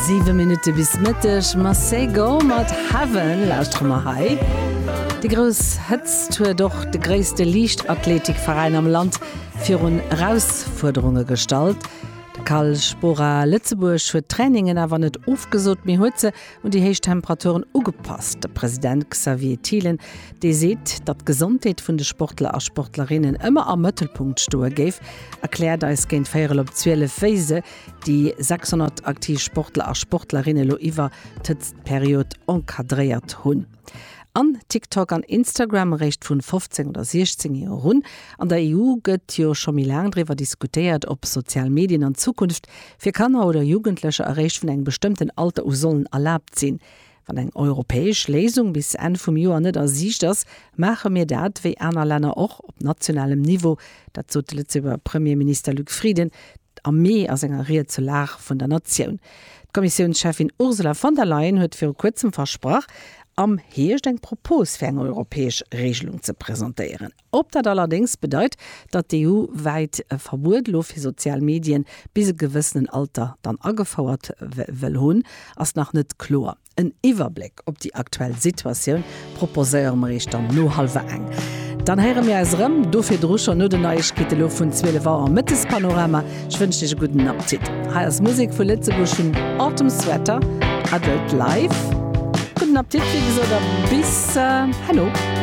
Siwe Minutte bis Mëtteg. Masego mat Heaven lauschtere mer hei. Déi grouss Hëtzt huet och de gréisste Liichtathletikveräin am Land virun Erausfuerderunge gestallt. De Cal Spora Lëtzebuerg huet d'Trainingen awer net ofgesot, mee huet se un déi héich Temperaturen ugepasst. De President Xavier Thielen, dee seet, datt d'Gesondheet vun de Sportler a Sportlerinnen ëmmer am Mëttelpunkt stoe géif, erkläert eis géint véierel op 12, wéi se déi 600 aktiv Sportler a Sportlerinne lo iwwer d'Hëtztperiod encadréiert hunn. An TikTok an Instagram eréischt vun 15 oder 16 Joer un. An der EU gëtt jo scho méi laang driwwer diskutéiert, ob sozial Medien an Zukunft fir Kanner oder Jugendlecher eréischt vun engem bestëmmten Alter u sollen erlaabt sinn. Wann eng europäesch Léisung bis Enn vum Joer net a Siicht ass, maache mir dat, wéi aner Länner och, op nationalem Niveau. Dat sot de Lëtzebuerger Premierminister Luc Frieden am Mee a senger Ried zur Lag vun der Natioun. D'Kommissiounscheffin Ursula von der Leyen huet viru kuerzem versprach, am Hierscht eng Propos fir eng europäesch Regelung ze presentéieren. Ob dat allerdéngs bedeit, datt d'EU-wäit e Verbuet elo fir sozial Medien bis e gewëssenen Alter dann agefouert wëll hunn, ass nach net kloer. En Iwwerbléck op déi aktuell Situatioun proposéiere mer iech dann no hallwer eng. Dann héiere mir eis erëm, do virdru schonn no den Neiegkeete lo vun 12 Auer am Mëttespanorama. Ech wënschen iech e gudden Appetit. Hei ass Musek vu Lëtzebuerg vun Autumn Sweater, Adult Life. Gudden Appetit wéi gesot a bis herno.